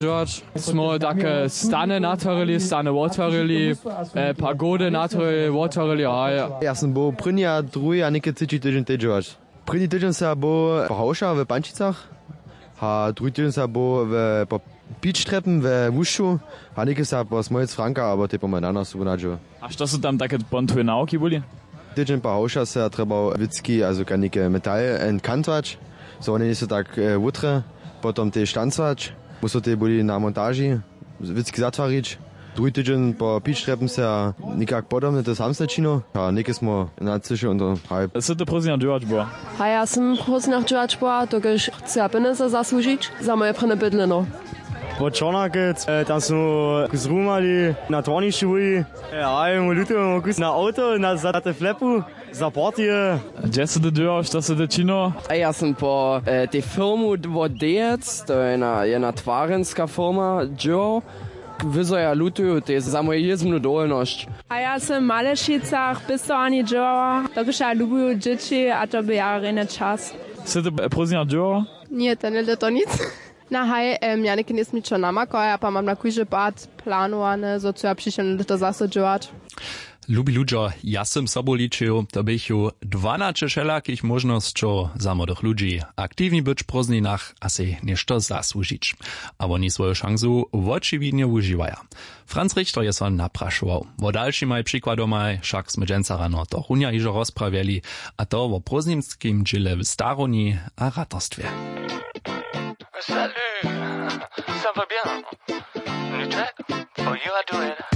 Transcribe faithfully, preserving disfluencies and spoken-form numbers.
Dźěłać. Smo take stany natwarili, stany wotwarili, e, pagody natwarili, wotwarili, a ja. Ja sam był prěni a druhi a něke třeći tydźeń tej dźěłać. Prěni tydźeń sam był po Hałša w Pančicach, a druhi tydźeń sam był w, po Pičtrepen we Łušću, a něke sam po Smolec Franka abo tej po Manana sobu nadźěł. A što su tam take pon twoje nawki byli? Tydźeń po Hałša se ja trjebał wěcki, also kanike metal, e, kantwać, zo wone njejsu tak, e, wutre, potom tež tancwać. Musu tej byli na montaži wěcki zatwarić. Druhi tydźeń po Pičtrepen se ja někak podobne to samsne činił. A něke smo nacyšili, haj. Sy ty prózdninja dźěłać była? A ja sam prózdninja dźěłać była, dokelž chceja pjenjezy zasłužić za moje prěnje bydleno. Po Čornakec, e, tam smo zrumali na twornišću byli. E, a je mu luty, mu kus na awto, na, za te flepu, za partyje. Hdźe sy ty dźěłał, što sy ty činił? A ja sam po, e, tej firmu wot Dejec, to je jedna, jedna twarenska firma, dźěłał. Wyzo ja lutuju tej za moju jězbnu dowolnosć. A ja sam w Malešicach pěstowarni dźěłała, dokelž ja lubuju dźěći a to by ja rjenje čas. Sy ty, e, prózdninja dźěłał? Ně, tenle to nic. Na haj, em, ja něke njejsmi čo namakał, ja pa mam na kóždy pad planowane, zo chcu ja přišedne lěto zaso dźěłać. Lubi ludźo, ja sym sobu ličił, to běchu dwanaće wšelakich móžnosćow za młodych ludźi, aktiwni być w prózdninach a sej něšto zasłužić. A woni swoju šansu wočiwidnje wužiwaja. Franz Richter je so naprašował. Wo dalšimaj přikładomaj wšak smy dźensa rano to runja hižo rozprawjeli, a to wo prózdninskim dźěle w starowni a ratarstwje. Salut, ça va bien? You check? Oh, you are doing.